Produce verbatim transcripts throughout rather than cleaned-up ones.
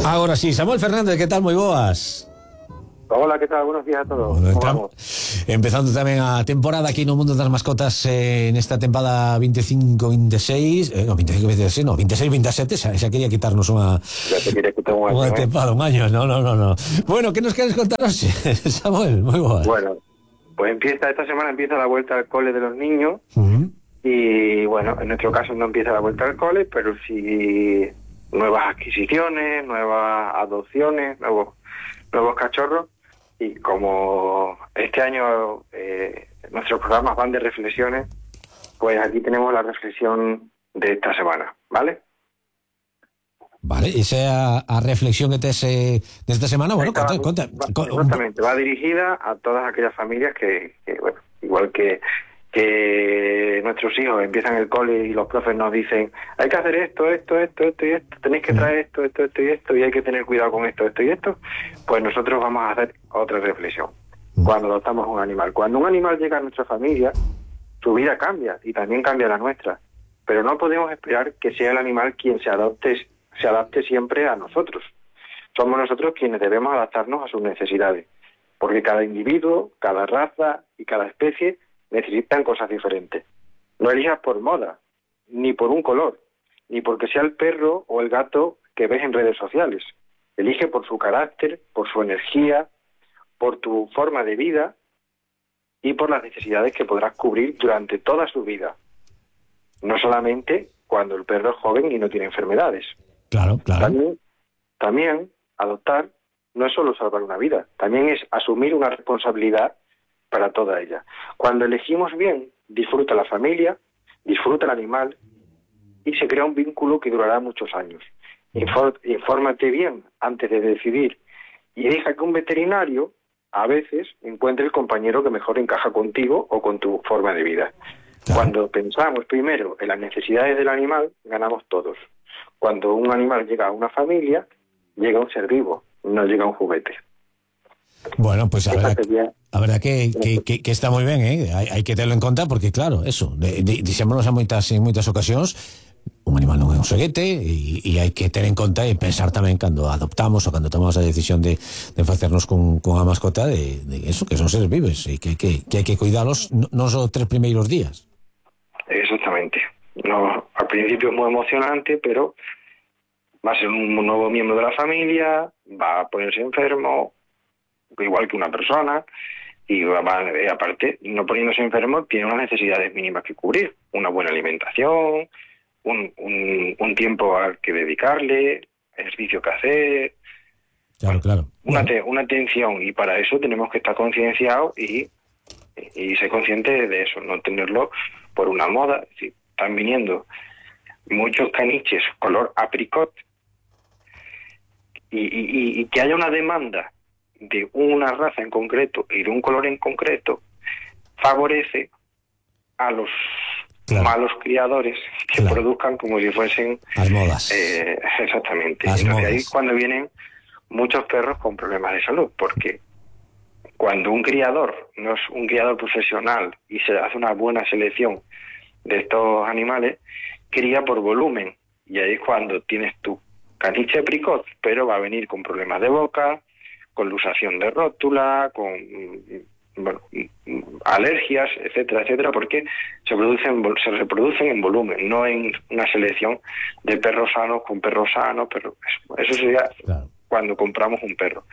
Agora sí, Samuel Fernández, que tal? Moi boas. Hola, que tal? Buenos días a todos. Bueno, entramos, empezando tamén a temporada aquí no mundo das mascotas, eh, nesta tempada veinticinco veintiséis, eh, no, veinticinco veintiséis, no, veintiséis veintisiete, xa, xa quería quitarnos unha Ya te quería quitar un año, unha ¿eh? tempada, un año, no, no, no, no. Bueno, ¿qué nos queres contar hoxe, Samuel? Moi boas. Bueno, pues empieza, esta semana empieza la vuelta al cole de los niños. Uh-huh. Y bueno, en nuestro caso no empieza la vuelta al cole, pero sí nuevas adquisiciones, nuevas adopciones, nuevos, nuevos cachorros. Y como este año eh, nuestros programas van de reflexiones, pues aquí tenemos la reflexión de esta semana, ¿vale? Vale, esa é a, a reflexión que tes eh, desta semana. Bueno, conta, conta, va, conta, exactamente, va dirigida a todas aquellas familias que, que bueno, igual que que nuestros hijos empiezan el cole y los profes nos dicen hay que hacer esto, esto, esto, esto y esto, tenéis que traer esto, esto, esto y esto, y hay que tener cuidado con esto, esto y esto, pues nosotros vamos a hacer otra reflexión cuando adoptamos un animal. Cuando un animal llega a nuestra familia, su vida cambia y también cambia la nuestra, pero no podemos esperar que sea el animal quien se adopte, se adapte siempre a nosotros. Somos nosotros quienes debemos adaptarnos a sus necesidades, porque cada individuo, cada raza y cada especie necesitan cosas diferentes. No elijas por moda, ni por un color, ni porque sea el perro o el gato que ves en redes sociales. Elige por su carácter, por su energía, por tu forma de vida y por las necesidades que podrás cubrir durante toda su vida. No solamente cuando el perro es joven y no tiene enfermedades. Claro, claro. También, también adoptar no es solo salvar una vida, también es asumir una responsabilidad para toda ella. Cuando elegimos bien, disfruta la familia, disfruta el animal y se crea un vínculo que durará muchos años. Infor- infórmate bien antes de decidir y deja que un veterinario a veces encuentre el compañero que mejor encaja contigo o con tu forma de vida. Claro. Cuando pensamos primero en las necesidades del animal, ganamos todos. Cuando un animal llega a una familia, llega un ser vivo, no llega un juguete. Bueno, pues a Esa verdad, sería... a verdad que, que, que, que está moi ben, eh? hai, hai que terlo en conta porque claro, eso, de, de, dixémonos a moitas, en moitas ocasións, un animal non é un xoguete e, e hai que ter en conta e pensar tamén cando adoptamos ou cando tomamos a decisión de, de facernos con, con a mascota de, de eso, que son seres vivos e que, que, que hai que cuidalos non só tres primeiros días. Exactamente. No, al principio es muy emocionante, pero va a ser un nuevo miembro de la familia, va a ponerse enfermo, igual que una persona, y va, va, aparte, no poniéndose enfermo, tiene unas necesidades mínimas que cubrir. Una buena alimentación, un, un, un tiempo al que dedicarle, ejercicio que hacer. Claro, claro. Una, Bueno. te, una atención, y para eso tenemos que estar concienciados y, y ser conscientes de eso, no tenerlo por una moda. Es decir, están viniendo muchos caniches color apricot y, y, y que haya una demanda de una raza en concreto y de un color en concreto favorece a los claro. malos criadores que claro. produzcan como si fuesen as modas. Eh, exactamente. As Entonces modas. ahí es cuando vienen muchos perros con problemas de salud, porque cuando un criador no es un criador profesional y se hace una buena selección de estos animales, cría por volumen, y ahí es cuando tienes tu caniche apricot, pero va a venir con problemas de boca, con luxación de rótula, con bueno, alergias, etcétera, etcétera, porque se producen, se reproducen en volumen, no en una selección de perros sanos con perros sanos, pero eso, eso sería Claro. cuando compramos un perro.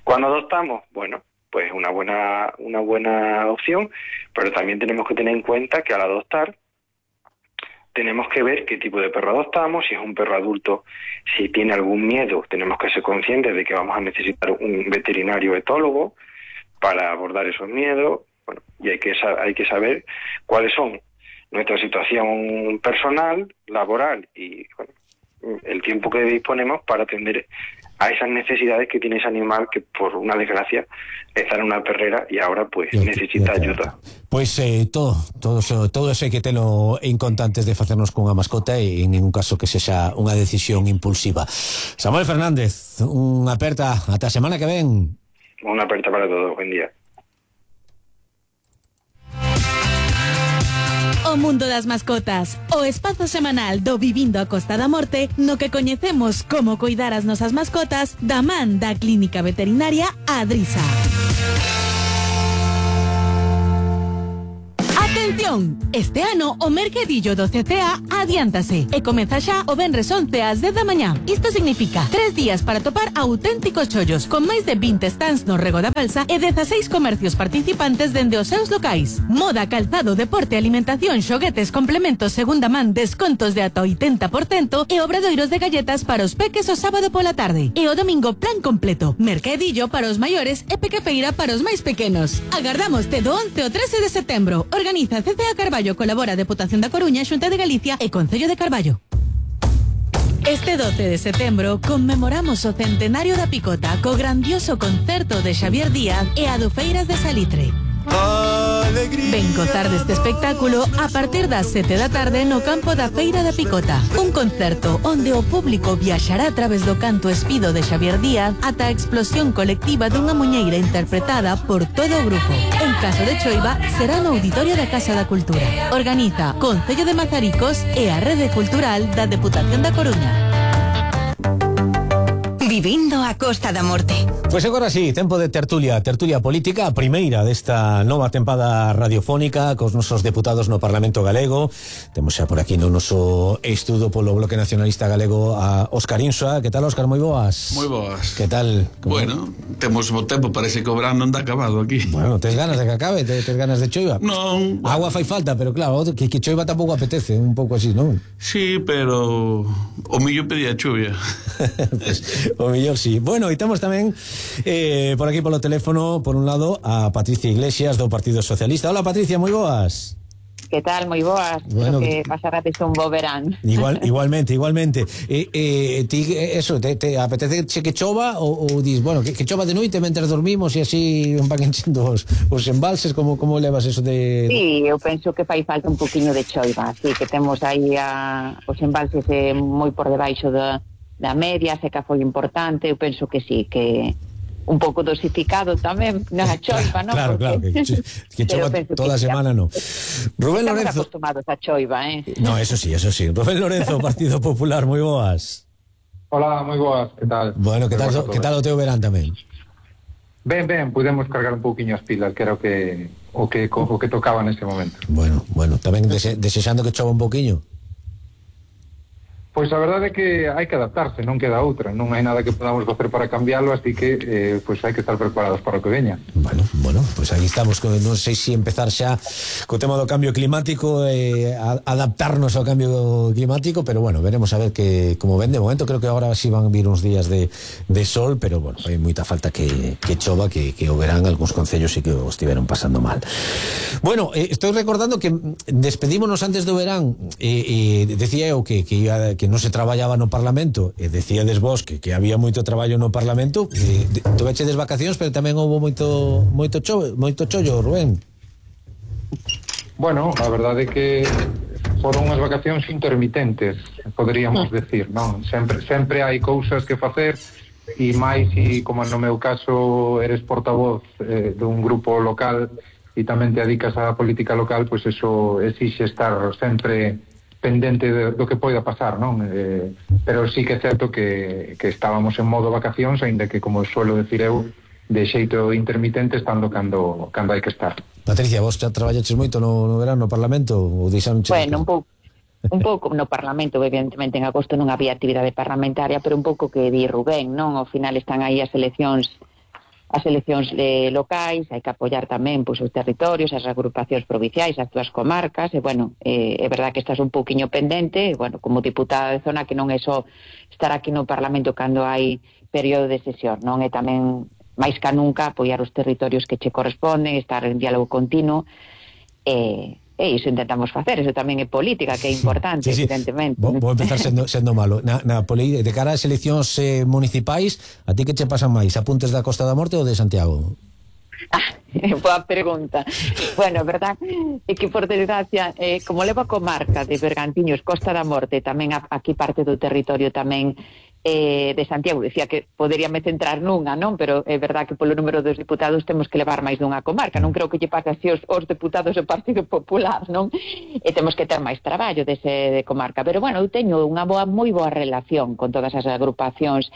Cuando adoptamos, bueno, pues una buena, una buena opción, pero también tenemos que tener en cuenta que al adoptar tenemos que ver qué tipo de perro adoptamos, si es un perro adulto, si tiene algún miedo, tenemos que ser conscientes de que vamos a necesitar un veterinario etólogo para abordar esos miedos, bueno, y hay que, hay que saber cuáles son nuestra situación personal, laboral y bueno, el tiempo que disponemos para atender a esas necesidades que tiene ese animal que por una desgracia está en una perrera y ahora pues Y, necesita y, ayuda. Pois eh, todo, todo, eso, todo eso hai que telo en conta antes de facernos cunha mascota e en ningún caso que sexa unha decisión impulsiva. Samuel Fernández, unha aperta ata a semana que ven. Una aperta para todos, buen día. O mundo das mascotas, o espazo semanal do Vivindo a Costa da Morte, no que coñecemos como coidar as nosas mascotas da man da Clínica Veterinaria Adrisa. Atención! Este ano o mercadillo do C C A adiántase e comeza xa o venres once ás dez da mañá. Isto significa tres días para topar auténticos chollos con máis de vinte stands no Rego da Balsa e dezaseis comercios participantes dende os seus locais. Moda, calzado, deporte, alimentación, xoguetes, complementos, segunda man, descontos de ata oitenta por cento e obradoiros de galletas para os peques o sábado pola tarde. E o domingo plan completo. Mercadillo para os maiores e pequefeira para os máis pequenos. Agardamos te do once ao trece de setembro. Organiza C C A Carballo, colabora a Deputación da Coruña, Xunta de Galicia e Concello de Carballo. Este doce de setembro conmemoramos o centenario da Picota co grandioso concerto de Xavier Díaz e Adufeiras de Salitre. Ven gozar deste espectáculo a partir das sete da tarde no campo da Feira da Picota. Un concerto onde o público viaxará a través do canto espido de Xavier Díaz ata a explosión colectiva dunha muñeira interpretada por todo o grupo. En caso de choiva, será no Auditorio da Casa da Cultura. Organiza Concello de Mazaricos e a Rede Cultural da Deputación da Coruña. Vivindo a Costa da Morte. Pois agora sí, tempo de tertulia, tertulia política, a primeira desta nova tempada radiofónica cos nosos deputados no Parlamento Galego. Temos xa por aquí no noso estudo polo Bloque Nacionalista Galego a Óscar Insua. Que tal, Óscar? Moi boas. Moi boas. Que tal? Como... Bueno, temos bo tempo, parece que o verán non dá acabado aquí. Bueno, tes ganas de que acabe? Tes ganas de choiva? Non. Agua fai falta, pero claro, que, que choiva tampouco apetece, un pouco así, non? Sí, pero o millo pedía chuvia. Pues, o mellor sí. Bueno, e temos tamén eh, por aquí polo teléfono, por un lado, a Patricia Iglesias do Partido Socialista. Hola, Patricia, moi boas. Que tal? Moi boas. Bueno, que pasarades un bo verán. Igual, igualmente, igualmente. Eh, eh, ti, eso, te, te apetece que chova ou, ou dis, bueno, que, que chova de noite mentre dormimos e así van enchendo os, os embalses, como, como levas eso de... Sí, eu penso que fai falta un poquinho de choiva, así que temos aí a, os embalses eh, moi por debaixo da, da media, seca foi importante, eu penso que sí, que un pouco dosificado tamén na choiva, non? Claro, claro, que, que chova toda a semana, non. Rubén Estamos Lorenzo... acostumados a choiva, eh? No, eso sí, eso sí. Rubén Lorenzo, Partido Popular, moi boas. Hola, moi boas, que tal? Bueno, que tal, que tal o teu verán tamén? Ben, ben, pudemos cargar un pouquiño as pilas, que era o que o que, o que tocaba nese momento. Bueno, bueno, tamén dese, desexando que chova un pouquiño. Pois a verdade é que hai que adaptarse, non queda outra, non hai nada que podamos facer para cambiarlo, así que eh, pois hai que estar preparados para o que veña. Bueno, bueno, pois aí estamos, non sei se empezar xa co tema do cambio climático e eh, adaptarnos ao cambio climático, pero bueno, veremos a ver que como ven de momento. Creo que agora sí van vir uns días de, de sol, pero bueno, hai moita falta que, que chova, que, que o verán algúns concellos e que o estiveron pasando mal. Bueno, eh, estou recordando que despedímonos antes do verán e eh, eh, decía eu que, que iba que non se traballaba no Parlamento e decíades vos que, que había moito traballo no Parlamento. eh, Tuveche des vacacións, pero tamén houve moito moito cho, moito chollo, Rubén. Bueno, a verdade é que foron unhas vacacións intermitentes, poderíamos decir, non? Sempre, sempre hai cousas que facer, e máis e como no meu caso eres portavoz eh, dun grupo local e tamén te dedicas á política local, pois eso exixe estar sempre pendente de, do que poida pasar, non? Eh, pero sí que é certo que, que estábamos en modo vacacións, aínda que, como suelo decir eu, de xeito intermitente, estando cando, cando hai que estar. Patricia, vos xa traballaches moito no, no verano no Parlamento? Ou deixaronche... Bueno, un pouco un pouco no Parlamento, evidentemente en agosto non había actividade parlamentaria, pero un pouco que di Rubén, non? Ao final están aí as eleccións as eleccións eh, locais, hai que apoiar tamén pois, os territorios, as agrupacións provinciais, as túas comarcas, e bueno, eh, é verdad que estás un pouquiño pendente, e, bueno, como diputada de zona, que non é só estar aquí no Parlamento cando hai período de sesión, non? É tamén máis ca nunca apoiar os territorios que che corresponden, estar en diálogo continuo, e... E iso intentamos facer, iso tamén é política, que é importante, sí, sí. Evidentemente. Vou, vou empezar sendo, sendo malo. Na, na poli, de cara ás eleccións eh, municipais, a ti que che pasan máis? Apuntes da Costa da Morte ou de Santiago? Ah, boa pregunta. Bueno, verdad, é que por desgracia, eh, como leva a comarca de Bergantiños, Costa da Morte, tamén aquí parte do territorio tamén eh, de Santiago. Decía que poderíame centrar nunha, non? Pero é verdad que polo número dos diputados temos que levar máis dunha comarca. Non creo que lle pase así os, os deputados do Partido Popular, non? E temos que ter máis traballo dese de comarca. Pero, bueno, eu teño unha boa, moi boa relación con todas as agrupacións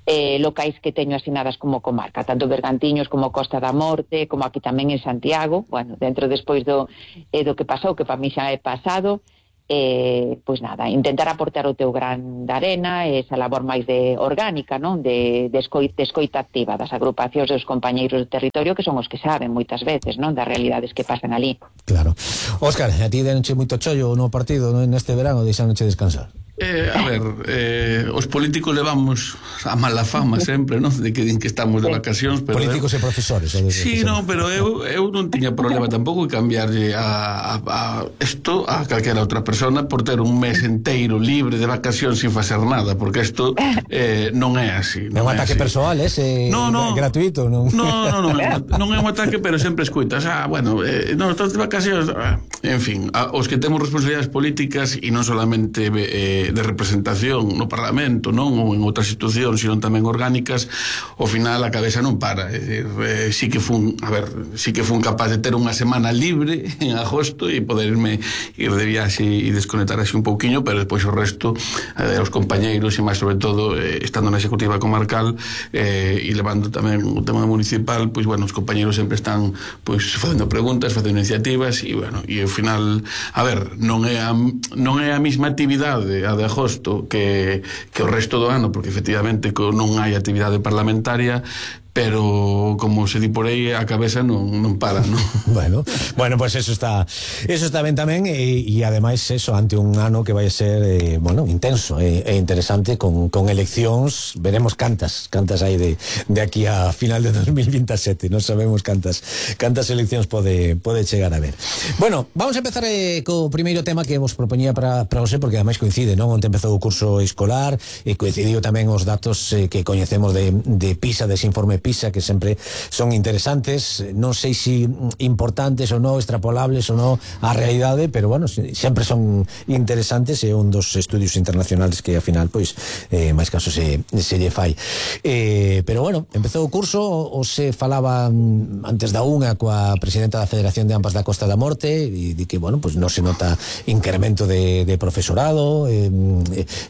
eh, locais que teño asinadas como comarca, tanto Bergantiños como Costa da Morte, como aquí tamén en Santiago. Bueno, dentro despois do, eh, do que pasou, que para mí xa é pasado, eh, pois nada, intentar aportar o teu gran de arena, esa labor máis de orgánica, non? De, de, escoita, de escoita activa das agrupacións dos compañeiros do territorio, que son os que saben moitas veces, non? Das realidades que pasan ali. Claro. Óscar, a ti denche moito chollo no partido, non? Neste verano, deixanoche descansar. Eh, a ver, eh, os políticos levamos a mala fama sempre, non? De que din que estamos de vacacións, pero políticos eu, e profesores. Sí, non, pero eu, eu non tiña problema tampouco de cambiarlle a, a, a isto a calquera outra persona por ter un mes enteiro libre de vacacións sin facer nada, porque isto eh, non é así. Non é un ataque persoal, ese no, no, gratuito, non? No, no, no, non é un ataque, pero sempre escuitas, ah, bueno, eh, non, estás de vacacións, ah, en fin, a, os que temos responsabilidades políticas e non solamente eh, de representación no Parlamento, non, ou en outras institucións, sino tamén orgánicas, ao final a cabeza non para. É dicir, eh, sí que fun, a ver, sí que fun capaz de ter unha semana libre en agosto e poderme ir de viaxe e desconectar así un pouquiño, pero depois o resto, eh, os compañeiros e máis sobre todo eh, estando na executiva comarcal eh, e levando tamén o tema municipal, pois bueno, os compañeiros sempre están pois facendo preguntas, facendo iniciativas e bueno, e ao final, a ver, non é a, non é a mesma actividade a de agosto que, que o resto do ano, porque efectivamente non hai actividade parlamentaria, pero como se di por aí a cabeza non, non para, non? bueno, bueno, pues eso está eso está ben tamén e, e ademais eso ante un ano que vai ser eh, bueno, intenso e, e interesante con, con eleccións, veremos cantas cantas hai de, de aquí a final de dos mil veintisiete, non sabemos cantas cantas eleccións pode, pode chegar a ver. Bueno, vamos a empezar eh, co primeiro tema que vos propoñía para, para você, porque ademais coincide, non? Onte empezou o curso escolar e coincidiu tamén os datos eh, que coñecemos de, de PISA, dese informe PISA, que sempre son interesantes, non sei se importantes ou non, extrapolables ou non á realidade, pero bueno, sempre son interesantes, é un dos estudios internacionales que ao final, pois, eh, máis caso se, se lle fai. Eh, pero bueno, empezou o curso, o se falaba antes da unha coa presidenta da Federación de Ampas da Costa da Morte, e di que, bueno, pois non se nota incremento de, de profesorado, eh,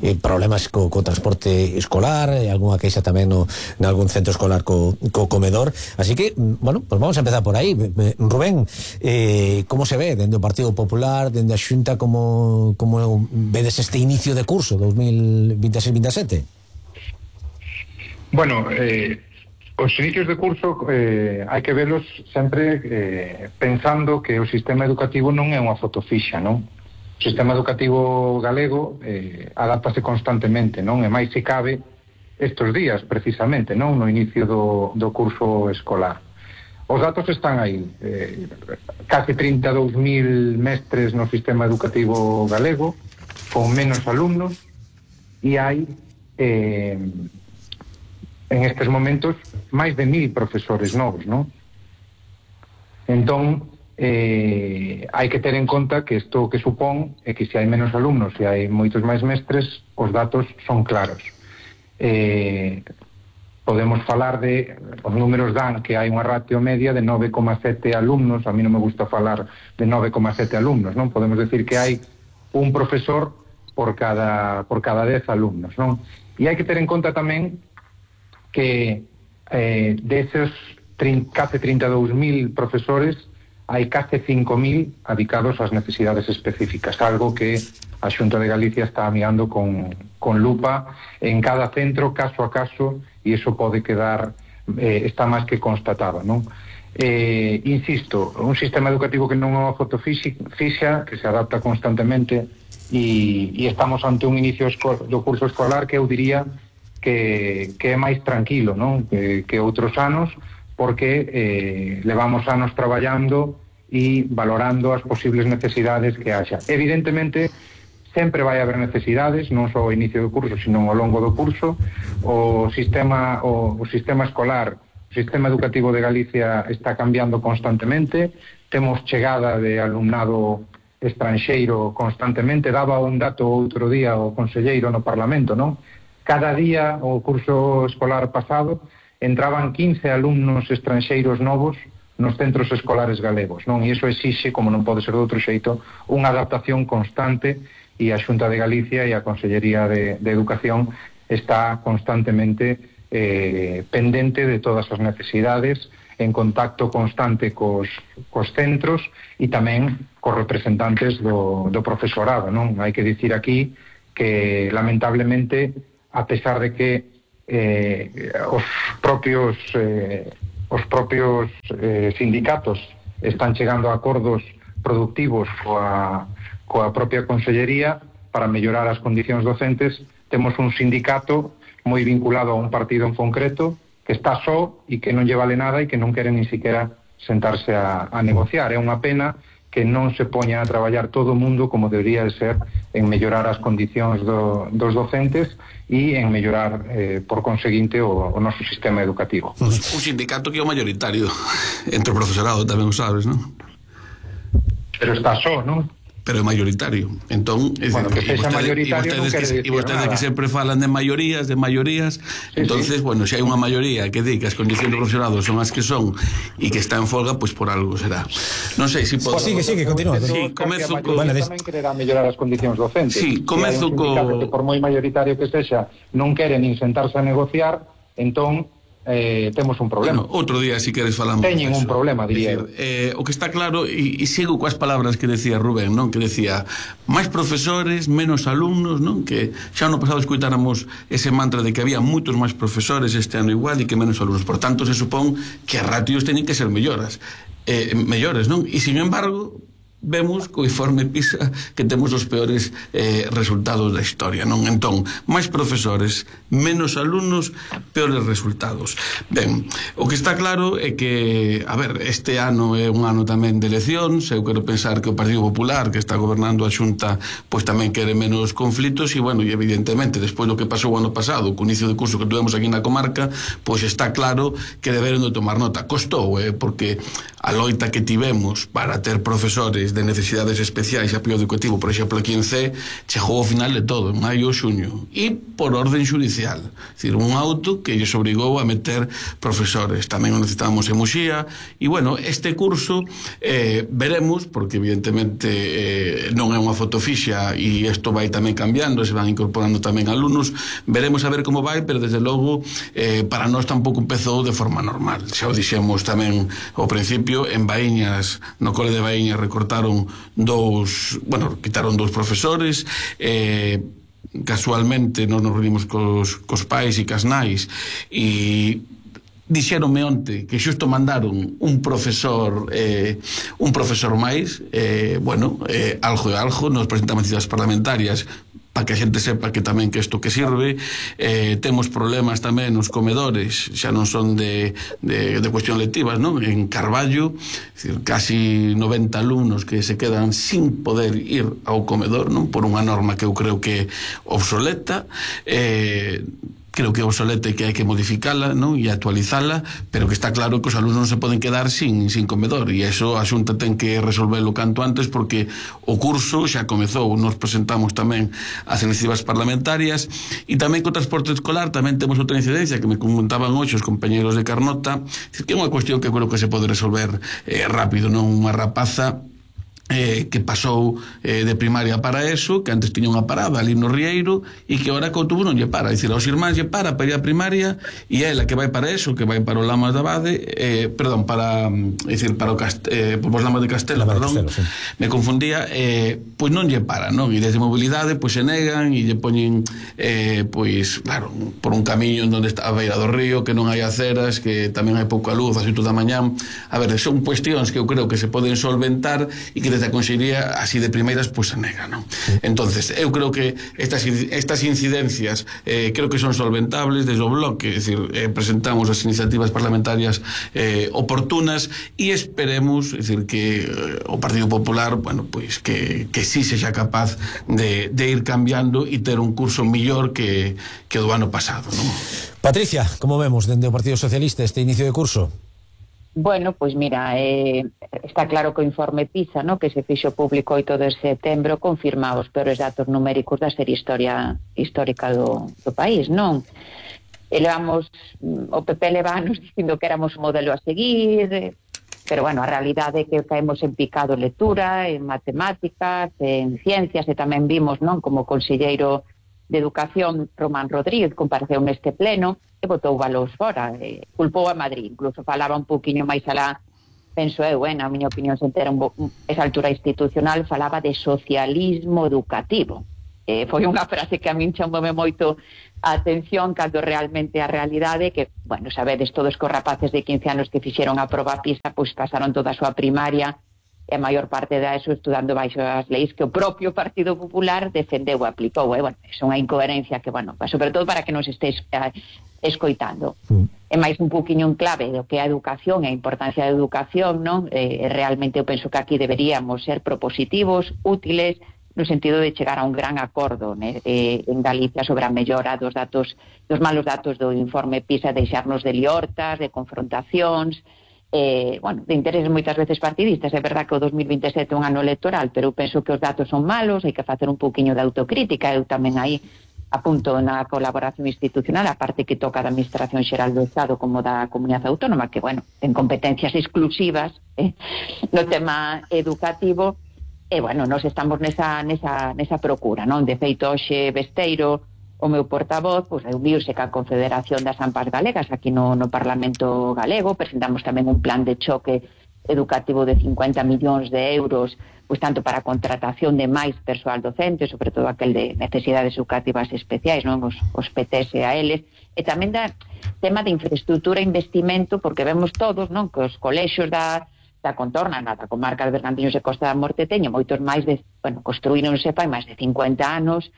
eh, problemas co, co transporte escolar, e algunha queixa tamén no, en algún centro escolar co, co comedor, así que, bueno, pues vamos a empezar por aí. Rubén, eh, como se ve dende o Partido Popular, dende a Xunta, como, como vedes este inicio de curso dos mil veintiséis veintisiete? Bueno, eh, os inicios de curso eh, hai que velos sempre eh, pensando que o sistema educativo non é unha foto fixa, non? O sistema educativo galego eh, adáptase constantemente, non? E máis se cabe estos días, precisamente, non? No inicio do, do curso escolar. Os datos están aí. Eh, casi trinta e dous mil mestres no sistema educativo galego, con menos alumnos, e hai, eh, en estes momentos, máis de mil profesores novos, non? Entón, eh, hai que ter en conta que isto que supón é que se hai menos alumnos e hai moitos máis mestres, os datos son claros. Eh, podemos falar de, os números dan que hai unha ratio media de nove coma sete alumnos, a mí non me gusta falar de nove coma sete alumnos, non? Podemos decir que hai un profesor por cada por cada dez alumnos, non? E hai que ter en conta tamén que eh, deses case trinta e dous mil profesores hai case cinco mil adicados ás necesidades específicas, algo que a Xunta de Galicia está mirando con, con lupa en cada centro, caso a caso, e iso pode quedar, eh, está máis que constatado, non? Eh, insisto, un sistema educativo que non é unha foto fixa, que se adapta constantemente, e, e estamos ante un inicio do curso escolar que eu diría que, que é máis tranquilo, non? Que, que outros anos, porque eh, levamos anos traballando e valorando as posibles necesidades que haxa. Evidentemente, sempre vai haber necesidades, non só ao inicio do curso, sino ao longo do curso. O sistema, o, o sistema escolar, o sistema educativo de Galicia está cambiando constantemente, temos chegada de alumnado estranxeiro constantemente. Daba un dato outro día o conselleiro no Parlamento, non? cada día, o curso escolar pasado, entraban quince alumnos estranxeiros novos nos centros escolares galegos, non? E iso exixe, como non pode ser de outro xeito, unha adaptación constante, e a Xunta de Galicia e a Consellería de, de Educación está constantemente eh, pendente de todas as necesidades, en contacto constante cos, cos centros e tamén cos representantes do, do profesorado, non? Hai que dicir aquí que, lamentablemente, a pesar de que eh, os propios eh, os propios eh, sindicatos están chegando a acordos productivos coa coa propia Consellería para mellorar as condicións docentes, temos un sindicato moi vinculado a un partido en concreto que está só e que non lle vale nada e que non quere ni siquiera sentarse a, a negociar. É unha pena que non se poña a traballar todo o mundo como debería de ser en mellorar as condicións do, dos docentes e en mellorar, eh, por conseguinte, o, o noso sistema educativo. Un sindicato que é o mayoritario entre o profesorado, tamén o sabes, non? Pero está só, non? Pero é mayoritario. Entón, é bueno, decir, que sexa mayoritario non quere dicir nada. E vostedes que sempre falan de maiorías, de maiorías, sí, entonces, sí. bueno, se hai unha maioría que di que as condicións do profesorado son as que son e que está en folga, pois pues por algo será. Non sei se si podo... Pues sigue, sigue, continúa. Sí, comezo co... Bueno, tamén quererá mellorar as condicións docentes. Sí, comezo co... que por moi mayoritario que sexa, non queren nin sentarse a negociar, entón... Eh, temos un problema. Bueno, outro día, si queres, falamos. Teñen un problema, diría. Decir, eh, o que está claro, e, e sigo coas palabras que decía Rubén, non? Que decía, máis profesores, menos alumnos, non? Que xa no pasado escoitáramos ese mantra de que había moitos máis profesores este ano igual e que menos alumnos. Por tanto, se supón que as ratios teñen que ser melloras, eh, mellores, non? E, sin embargo, vemos co informe PISA que temos os peores eh, resultados da historia, non? Entón, máis profesores, menos alumnos, peores resultados. Ben, o que está claro é que, a ver, este ano é un ano tamén de eleccións, eu quero pensar que o Partido Popular, que está gobernando a Xunta, pois tamén quere menos conflitos e, bueno, e evidentemente, despois do que pasou o ano pasado, co inicio de curso que tuvemos aquí na comarca, pois está claro que deberon de tomar nota. Costou, eh, porque a loita que tivemos para ter profesores de necesidades especiais e apoio educativo, por exemplo, aquí en C, chegou ao final de todo, en maio ou xuño, e por orden judicial, é dicir, un auto que lles obrigou a meter profesores. Tamén o necesitábamos en Muxía, e, bueno, este curso eh, veremos, porque evidentemente eh, non é unha foto fixa e isto vai tamén cambiando, se van incorporando tamén alumnos, veremos a ver como vai, pero desde logo eh, para nós tampouco empezou de forma normal. Xa o dixemos tamén ao principio, en Baíñas, no cole de Baíñas recortaron dous, bueno, quitaron dous profesores, eh, casualmente nos nos reunimos cos, cos pais e cas nais e dixeronme onte que xusto mandaron un profesor eh, un profesor máis, eh, bueno, eh, algo e algo, nos presentamos citas parlamentarias para que a xente sepa que tamén que isto que sirve. Eh, temos problemas tamén nos comedores, xa non son de, de, de cuestión lectivas, non? En Carballo, decir, casi noventa alumnos que se quedan sin poder ir ao comedor, non? Por unha norma que eu creo que é obsoleta, eh, creo que é obsoleta e que hai que modificala, non? E actualizala, pero que está claro que os alumnos non se poden quedar sin, sin comedor, e iso a Xunta ten que resolverlo canto antes, porque o curso xa comezou. Nos presentamos tamén as iniciativas parlamentarias, e tamén co transporte escolar tamén temos outra incidencia que me comentaban hoxe os compañeros de Carnota, que é unha cuestión que creo que se pode resolver eh, rápido, non? Unha rapaza Eh, que pasou eh, de primaria para eso, que antes tiña unha parada ali no Rieiro e que ahora que o autobús non lle para, é dicir, aos irmáns lle para para ir a primaria e ela que vai para eso, que vai para o Lamas da Bade, eh, perdón, para, é dicir, para o Cast eh, por os Lamas de Castela, Lama perdón, de Castelo, sí. Me confundía, eh, pois non lle para, non? E desde mobilidade pois se negan e lle poñen eh, pois, claro, por un camiño onde está a beira do río, que non hai aceras, que tamén hai pouca luz, as oito da mañán. A ver, son cuestións que eu creo que se poden solventar e que a Consellería así de primeiras pois pues, se nega, non? Sí. Entonces, eu creo que estas, estas incidencias eh, creo que son solventables desde o bloque, é dicir, eh, presentamos as iniciativas parlamentarias eh, oportunas e esperemos, é dicir, que eh, o Partido Popular, bueno, pois pues, que, que sí sexa capaz de, de ir cambiando e ter un curso millor que, que o do ano pasado, non? Patricia, como vemos dende o Partido Socialista este inicio de curso? Bueno, pois mira, eh, está claro que o informe PISA, no, que se fixo público oito de setembro, confirma os peores datos numéricos da serie historia histórica do, do país, non? Elevamos, o P P levános dicindo que éramos o modelo a seguir, pero bueno, a realidade é que caemos en picado en lectura, en matemáticas, en ciencias, e tamén vimos, non, como conselleiro de Educación, Román Rodríguez, compareceu neste pleno, e botou valores fora, e culpou a Madrid, incluso falaba un poquinho máis alá, penso eu, eh, na miña opinión, sen ter esa altura institucional, falaba de socialismo educativo. Eh, foi unha frase que a min chamoume moito a atención, cando realmente a realidade que, bueno, sabedes todos que os rapaces de quince anos que fixeron a proba PISA, pois pasaron toda a súa primaria e a maior parte da eso estudando baixo as leis que o propio Partido Popular defendeu e aplicou. E, bueno, é unha incoherencia que, bueno, sobre todo para que nos estéis eh, escoitando. Mm. É máis un poquinho en clave do que é a educación e a importancia da educación, non? Eh, realmente eu penso que aquí deberíamos ser propositivos, útiles, no sentido de chegar a un gran acordo, né, eh, en Galicia sobre a mellora dos datos, dos malos datos do informe PISA, deixarnos de liortas, de confrontacións, eh, bueno, de intereses moitas veces partidistas. É verdad que o dos mil vinte e sete é un ano electoral, pero eu penso que os datos son malos, hai que facer un poquinho de autocrítica. Eu tamén aí apunto na colaboración institucional, a parte que toca da Administración Xeral do Estado como da Comunidade Autónoma, que, bueno, ten competencias exclusivas eh, no tema educativo, e, bueno, nós estamos nesa, nesa, nesa procura, non? De feito, hoxe Besteiro, o meu portavoz, pois reuniuse ca Confederación das AMPAs Galegas aquí no, no Parlamento Galego. Presentamos tamén un plan de choque educativo de cincuenta millóns de euros, pois tanto para a contratación de máis persoal docente, sobre todo aquel de necesidades educativas especiais, non, os, os P T S a eles, e tamén da tema de infraestructura e investimento, porque vemos todos, non, que os colexios da da contorna, na da comarca de Bergantiños e Costa da Morte teñen moitos máis de, bueno, construíronse fai máis de cincuenta anos.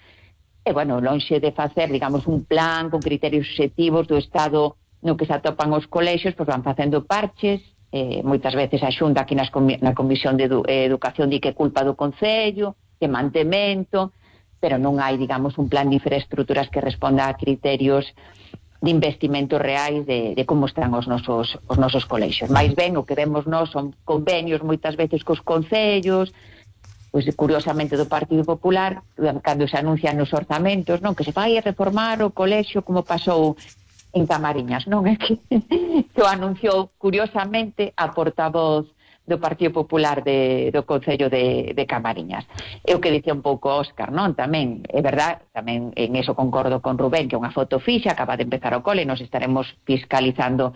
E, bueno, lonxe de facer, digamos, un plan con criterios obxectivos do Estado no que se atopan os colexios, pois van facendo parches, eh, moitas veces a Xunta aquí nas comi na Comisión de Edu eh, Educación di que culpa do Concello, que mantemento, pero non hai, digamos, un plan de infraestructuras que responda a criterios de investimentos reais de, de como están os nosos, os nosos colexios. Mais ben, o que vemos nós son convenios moitas veces cos concellos, pois curiosamente do Partido Popular, cando se anuncian nos orzamentos, non, que se vai a reformar o colexio como pasou en Camariñas, non? É que, que o anunciou curiosamente a portavoz do Partido Popular de, do Concello de, de Camariñas. É o que dicía un pouco Óscar, non? Tamén, é verdad, tamén en eso concordo con Rubén, que é unha foto fixa, acaba de empezar o cole, nos estaremos fiscalizando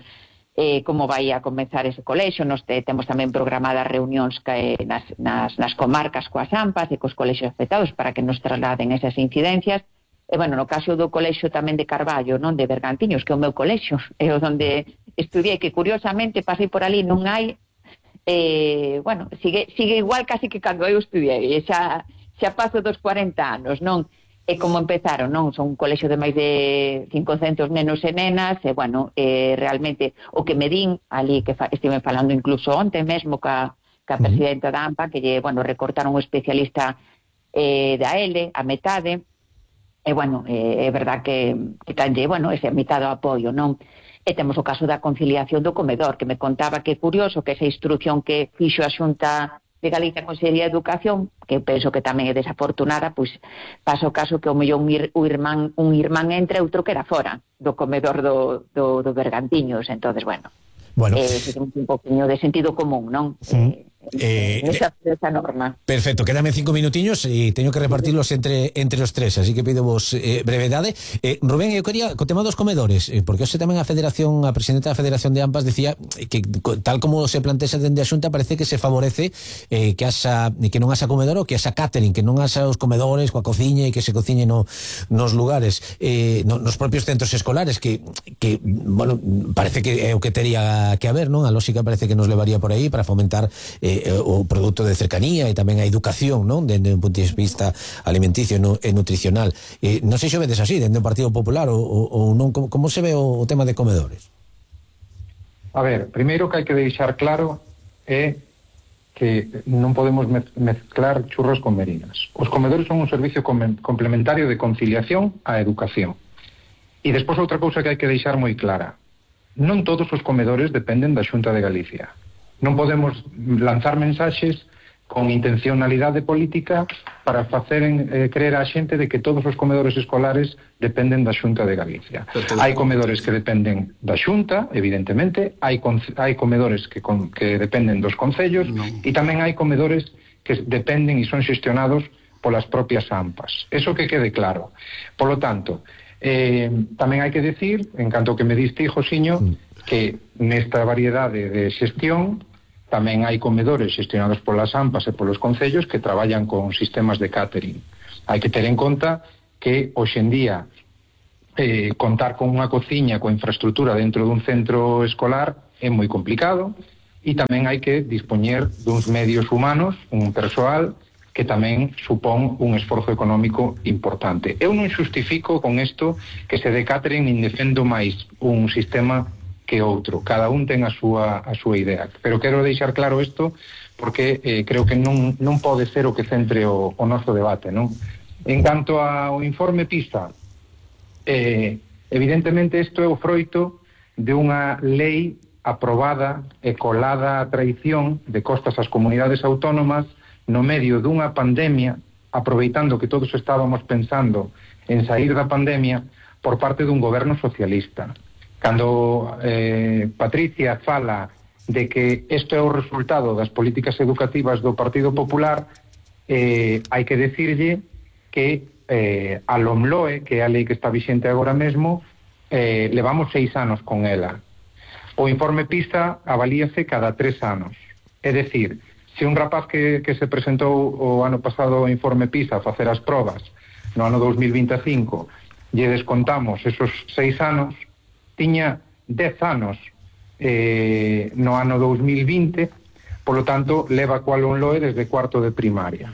Eh, como vai a comenzar ese colexio. Nos te, temos tamén programadas reunións que, nas, nas, nas comarcas coas AMPAs e cos colexios afectados para que nos trasladen esas incidencias. E, bueno, no caso do colexio tamén de Carballo, non, de Bergantiños, que é o meu colexio, é o onde estudiei, que curiosamente pasei por ali, non hai, eh, bueno, sigue, sigue igual casi que cando eu estudiei, e xa, xa paso dos cuarenta anos, non? E como empezaron, non? Son un colexio de máis de cincocentos nenos e nenas, e, bueno, eh, realmente o que me din ali, que fa, estive falando incluso onte mesmo ca, ca presidenta da AMPA, que lle, bueno, recortaron un especialista eh, da L, a metade, e, bueno, eh, é verdad que, que tanlle, bueno, ese mitado apoio, non? E temos o caso da conciliación do comedor, que me contaba que é curioso que esa instrucción que fixo a Xunta de Galicia Consellería de Educación, que penso que tamén é desafortunada, pois pasa o caso que o mellor un, ir, un, irmán, un irmán entre outro que era fora do comedor do, do, do Bergantiños. Entonces, bueno, bueno. Eh, un poquinho de sentido común, non? Sí. Eh, eh, esa, esa norma. Perfecto, quédame cinco minutiños e teño que repartirlos entre entre os tres, así que pido vos eh, brevedade. Eh, Rubén, eu quería co tema dos comedores, eh, porque hoxe tamén a Federación, a presidenta da Federación de AMPAs decía que tal como se plantea dende a Xunta parece que se favorece eh, que asa que non asa comedor ou que asa catering, que non asa os comedores coa cociña e que se cociñe no, nos lugares, eh, no, nos propios centros escolares, que, que bueno, parece que é o que tería que haber, non? A lógica parece que nos levaría por aí para fomentar eh, o produto de cercanía e tamén a educación, non? Dende un punto de vista alimenticio e nutricional. Eh, non sei se vedes así, dende o Partido Popular ou, ou non, como, como se ve o, o tema de comedores? A ver, primeiro que hai que deixar claro é que non podemos mezclar churros con merinas. Os comedores son un servicio complementario de conciliación á educación. E despois outra cousa que hai que deixar moi clara. non todos os comedores dependen da Xunta de Galicia. Non podemos lanzar mensaxes con intencionalidade política para facer eh, creer a xente de que todos os comedores escolares dependen da Xunta de Galicia. Hai comedores que dependen da Xunta, evidentemente, hai, hai comedores que, con, que dependen dos concellos, no. E tamén hai comedores que dependen e son xestionados polas propias AMPAs. Eso que quede claro. Por lo tanto, eh, tamén hai que decir, en canto que me diste, Josiño, mm. que nesta variedade de xestión tamén hai comedores xestionados polas AMPAs e polos concellos que traballan con sistemas de catering. Hai que ter en conta que hoxendía eh, contar con unha cociña coa infraestructura dentro dun centro escolar é moi complicado, e tamén hai que dispoñer duns medios humanos, un persoal que tamén supón un esforzo económico importante. Eu non xustifico con isto que se de catering nin defendo máis un sistema que outro. Cada un ten a súa, a súa idea. Pero quero deixar claro isto porque eh, creo que non, non pode ser o que centre o, o noso debate, non? En canto ao informe PISA, eh, evidentemente isto é o froito de unha lei aprobada e colada a traición de costas ás comunidades autónomas no medio dunha pandemia, aproveitando que todos estábamos pensando en sair da pandemia por parte dun goberno socialista. Cando eh, Patricia fala de que isto é o resultado das políticas educativas do Partido Popular, eh, hai que decirlle que eh, a LOMLOE, que é a lei que está vixente agora mesmo, eh, levamos seis anos con ela. O informe PISA avalíase cada tres anos. É dicir, se un rapaz que, que se presentou o ano pasado o informe PISA a facer as probas no ano dos mil vinte e cinco, lle descontamos esos seis anos, tiña dez anos eh, no ano dos mil vinte, polo tanto, leva coa LOMLOE desde cuarto de primaria.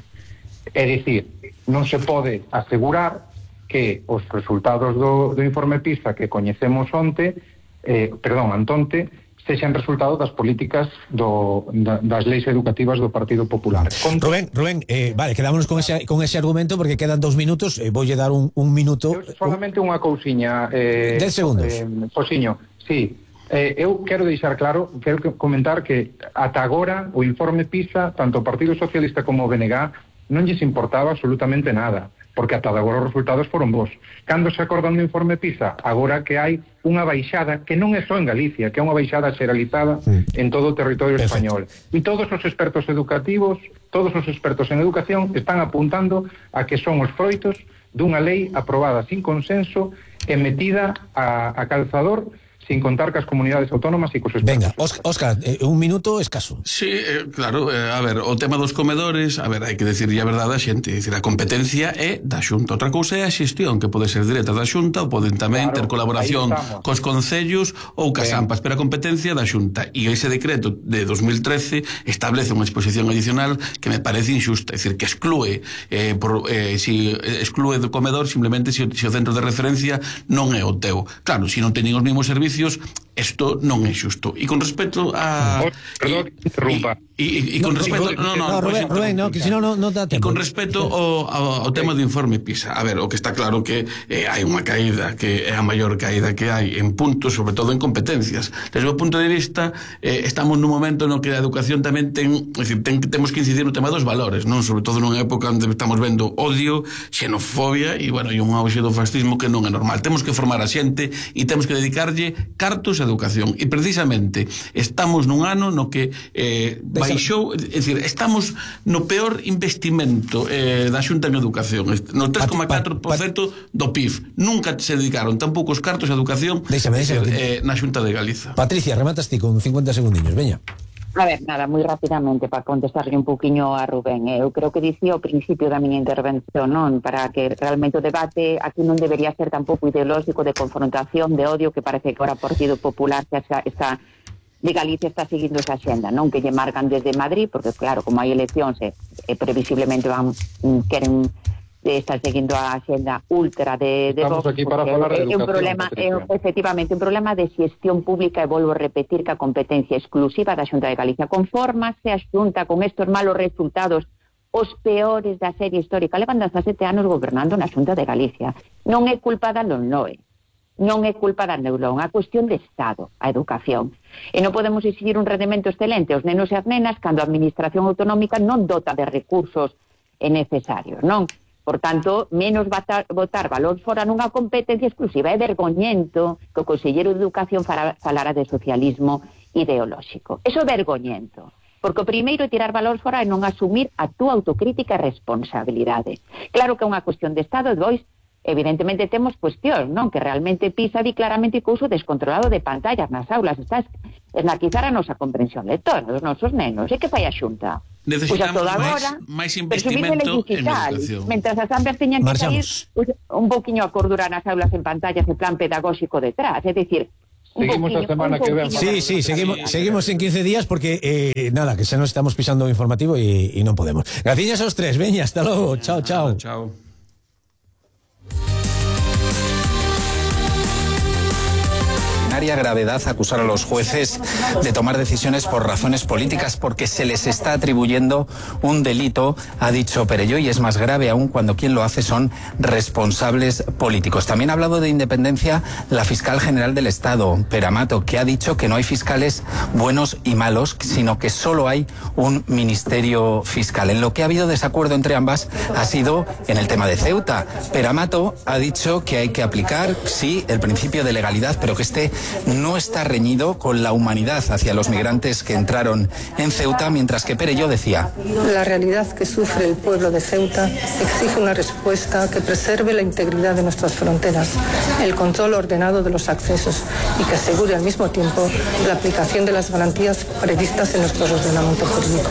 É dicir, non se pode asegurar que os resultados do, do informe PISA que coñecemos onte, eh, perdón, antonte, sexan resultado das políticas do, da, das leis educativas do Partido Popular. Con... Rubén, Rubén, eh, vale, quedámonos con ese, con ese argumento porque quedan dos minutos, eh, voulle dar un, un minuto. Eu solamente unha cousiña. Eh, Dez segundos. Eh, Josiño, sí. Eh, eu quero deixar claro, quero comentar que ata agora o informe PISA, tanto o Partido Socialista como o B N G non lles importaba absolutamente nada, porque ata agora os resultados foron bons. Cando se acordan do informe PISA? Agora que hai unha baixada, que non é só en Galicia, que é unha baixada xeralizada mm. en todo o territorio Perfecto. español. E todos os expertos educativos, todos os expertos en educación están apuntando a que son os froitos dunha lei aprobada sin consenso e metida a, a calzador sin contar cas comunidades autónomas e cos expertos. Venga, Óscar, eh, un minuto escaso. Sí, eh, claro, eh, a ver, o tema dos comedores, a ver, hai que decirlle a verdade a xente, dicir, a competencia é da Xunta. Outra cousa é a xestión, que pode ser directa da Xunta ou poden tamén claro, ter colaboración cos concellos ou cas AMPAs, pero a competencia da Xunta. E ese decreto de dos mil trece establece unha exposición adicional que me parece injusta, é dicir, que exclúe eh, por, eh, si exclúe do comedor simplemente se, se o centro de referencia non é o teu. Claro, se non teñen os mesmos servicios, isto non é xusto. E con respecto a... Perdón, que interrumpa. E con respecto... No, no, Rubén, Rubén, no, que si non, non dá tempo. E con respecto ao, ao, ao tema do informe PISA, a ver, o que está claro que eh, hai unha caída, que é a maior caída que hai en puntos, sobre todo en competencias. Desde o punto de vista, eh, estamos nun momento no que a educación tamén ten, é dicir, ten, temos que incidir no tema dos valores, non? Sobre todo nunha época onde estamos vendo odio, xenofobia e, bueno, e un auxe do fascismo que non é normal. Temos que formar a xente e temos que dedicarlle cartos a educación. E precisamente estamos nun ano no que eh, baixou, é dicir, estamos no peor investimento eh, da Xunta en educación, no tres coma catro por cento do P I B. Nunca se dedicaron tampouco os cartos a educación déxame, déxame, eh, na Xunta de Galiza. Patricia, rematas ti con cincuenta segundiños, veña. A ver, nada, moi rapidamente para contestarle un poquinho a Rubén. Eu creo que dicía ao principio da miña intervención, non, para que realmente o debate aquí non debería ser tampouco ideolóxico de confrontación, de odio, que parece que ahora o Partido Popular xa está de Galicia está seguindo esa xenda, non que lle marcan desde Madrid, porque claro, como hai eleccións e, e previsiblemente van queren estar seguindo a xenda ultra de, de Estamos Vox, aquí para falar de é un problema, é, efectivamente, un problema de xestión pública, e volvo a repetir que a competencia exclusiva da Xunta de Galicia. Confórmase a Xunta con estos malos resultados, os peores da serie histórica. Levan dezasete anos gobernando na Xunta de Galicia. Non é culpa da LOMLOE. non é culpa da neurón, é cuestión de Estado, a educación. E non podemos exigir un rendemento excelente aos nenos e as nenas cando a administración autonómica non dota de recursos necesarios, non? Por tanto, menos botar, botar balón fora nunha competencia exclusiva. É vergoñento que o conselleiro de Educación falara de socialismo ideolóxico. Eso é vergoñento. Porque o primeiro é tirar balón fora e non asumir a túa autocrítica e responsabilidade. Claro que é unha cuestión de Estado, e dois, evidentemente temos cuestións, non? Que realmente PISA di claramente que o uso descontrolado de pantallas nas aulas está esnaquizar a nosa comprensión lectora dos nosos nenos. E que fai a Xunta? Necesitamos máis, máis investimento en educación. Mentras as ambas teñan que sair un poquinho a cordura nas aulas en pantallas e plan pedagóxico detrás, é dicir, seguimos a semana que ven. Sí, sí, seguimos, seguimos en quince días porque eh, nada, que xa nos estamos pisando o informativo e, e non podemos. Gracias aos tres, veña, hasta logo. Chao, chao. Chao. Gravedad acusar a los jueces de tomar decisiones por razones políticas porque se les está atribuyendo un delito, ha dicho Perelló, y es más grave aún cuando quien lo hace son responsables políticos. También ha hablado de independencia la fiscal general del Estado, Pere Amato, que ha dicho que no hay fiscales buenos y malos, sino que solo hay un ministerio fiscal. En lo que ha habido desacuerdo entre ambas ha sido en el tema de Ceuta. Pere Amato ha dicho que hay que aplicar, sí, el principio de legalidad, pero que este no está reñido con la humanidad hacia los migrantes que entraron en Ceuta, mientras que Perelló decía: la realidad que sufre el pueblo de Ceuta exige una respuesta que preserve la integridad de nuestras fronteras, el control ordenado de los accesos y que asegure al mismo tiempo la aplicación de las garantías previstas en nuestro ordenamiento jurídico.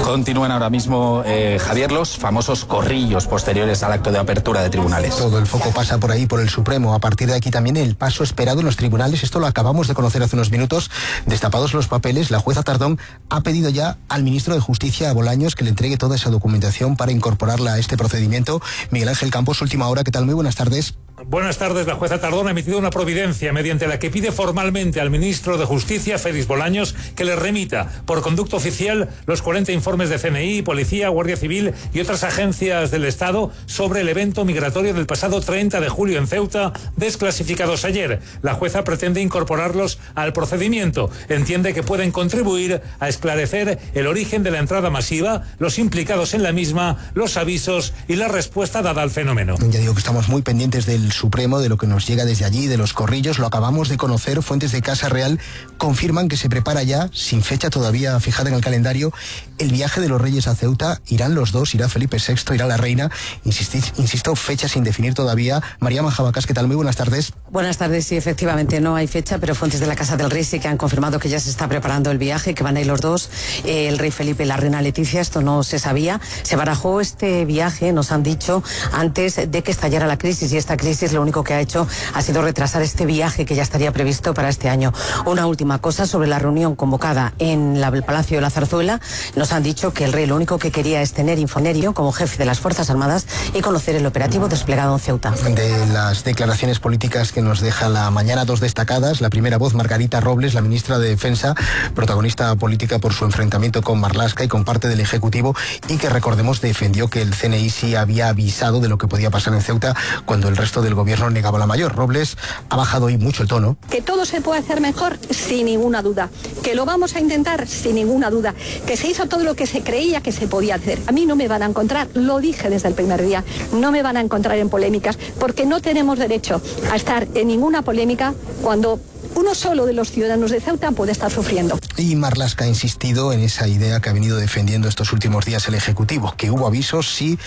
Continúan ahora mismo, eh, Javier, los famosos corrillos posteriores al acto de apertura de tribunales. Todo el foco pasa por ahí, por el Supremo. A partir de aquí también el paso esperado en los tribunales. Esto lo acabamos de conocer hace unos minutos. Destapados los papeles, la jueza Tardón ha pedido ya al ministro de Justicia, a Bolaños, que le entregue toda esa documentación para incorporarla a este procedimiento. Miguel Ángel Campos, última hora. ¿Qué tal? Muy buenas tardes. Buenas tardes. La jueza Tardón ha emitido una providencia mediante la que pide formalmente al ministro de Justicia, Félix Bolaños, que le remita por conducto oficial los cuarenta informes de C N I, Policía, Guardia Civil y otras agencias del Estado sobre el evento migratorio del pasado treinta de julio en Ceuta, desclasificados ayer. La jueza pretende incorporarlos al procedimiento. Entiende que pueden contribuir a esclarecer el origen de la entrada masiva, los implicados en la misma, los avisos y la respuesta dada al fenómeno. Ya digo que estamos muy pendientes del Supremo, de lo que nos llega desde allí, de los corrillos. Lo acabamos de conocer. Fuentes de Casa Real confirman que se prepara ya, sin fecha todavía fijada en el calendario, el viaje de los Reyes a Ceuta. Irán los dos, irá Felipe sexto, irá la reina. Insistid, insisto, fecha sin definir todavía. María Majabacas, ¿qué tal? Muy buenas tardes. Buenas tardes. Sí, efectivamente no hay fecha, pero fuentes de la Casa del Rey sí que han confirmado que ya se está preparando el viaje, que van a ir los dos, eh, el rey Felipe y la reina Leticia. Esto no se sabía. Se barajó este viaje, nos han dicho, antes de que estallara la crisis, y esta crisis lo único que ha hecho ha sido retrasar este viaje que ya estaría previsto para este año. Una última cosa sobre la reunión convocada en la, el Palacio de la Zarzuela. Nos han dicho que el rey lo único que quería es tener infonerio como jefe de las Fuerzas Armadas y conocer el operativo desplegado en Ceuta. De las declaraciones políticas que nos deja la mañana, dos destacadas. La primera voz, Margarita Robles, la ministra de Defensa, protagonista política por su enfrentamiento con Marlaska y con parte del Ejecutivo, y que, recordemos, defendió que el C N I sí había avisado de lo que podía pasar en Ceuta cuando el resto del gobierno negaba la mayor. Robles ha bajado hoy mucho el tono. Que todo se puede hacer mejor, sin ninguna duda. Que lo vamos a intentar, sin ninguna duda. Que se hizo todo lo que se creía que se podía hacer. A mí no me van a encontrar, lo dije desde el primer día, no me van a encontrar en polémicas, porque no tenemos derecho a estar en ninguna polémica cuando uno solo de los ciudadanos de Ceuta puede estar sufriendo. Y Marlaska ha insistido en esa idea que ha venido defendiendo estos últimos días el Ejecutivo, que hubo avisos, sí,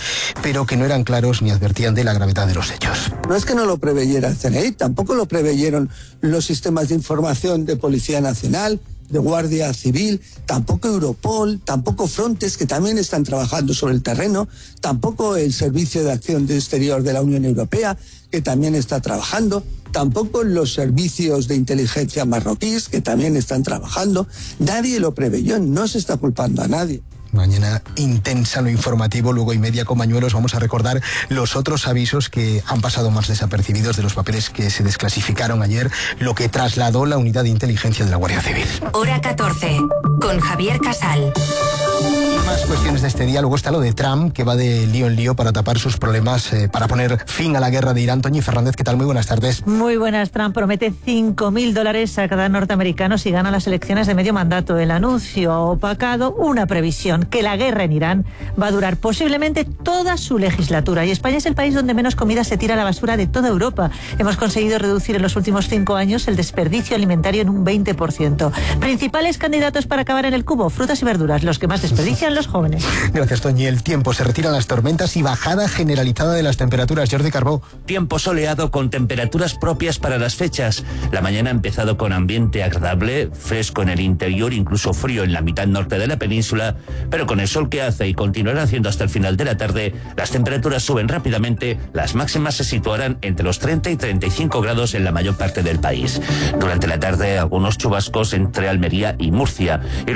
pero que no eran claros ni advertían de la gravedad de los hechos. No es que no lo preveyera el C N I, tampoco lo preveyeron los sistemas de información de Policía Nacional, de Guardia Civil, tampoco Europol, tampoco Frontex, que también están trabajando sobre el terreno, tampoco el Servicio de Acción Exterior de la Unión Europea, que también está trabajando, tampoco los servicios de inteligencia marroquíes, que también están trabajando. Nadie lo preveyó, no se está culpando a nadie. Mañana intensa lo informativo, luego y media con Bañuelos. Vamos a recordar los otros avisos que han pasado más desapercibidos de los papeles que se desclasificaron ayer, lo que trasladó la unidad de inteligencia de la Guardia Civil. Hora catorce, con Javier Casal. más cuestiones de este día. Luego está lo de Trump, que va de lío en lío para tapar sus problemas, eh, para poner fin a la guerra de Irán. Toñi Fernández, ¿qué tal? Muy buenas tardes. Muy buenas. Trump promete cinco mil dólares a cada norteamericano si gana las elecciones de medio mandato. El anuncio ha opacado una previsión, que la guerra en Irán va a durar posiblemente toda su legislatura. Y España es el país donde menos comida se tira a la basura de toda Europa. Hemos conseguido reducir en los últimos cinco años el desperdicio alimentario en un veinte por ciento. Principales candidatos para acabar en el cubo: frutas y verduras, los que más desperdician los jóvenes. Gracias, Toñi. El tiempo, se retiran las tormentas y bajada generalizada de las temperaturas. Jordi Carbó. Tiempo soleado con temperaturas propias para las fechas. La mañana ha empezado con ambiente agradable, fresco en el interior, incluso frío en la mitad norte de la península, pero con el sol que hace y continuará haciendo hasta el final de la tarde, las temperaturas suben rápidamente, las máximas se situarán entre los treinta y treinta y cinco grados en la mayor parte del país. Durante la tarde, algunos chubascos entre Almería y Murcia. Y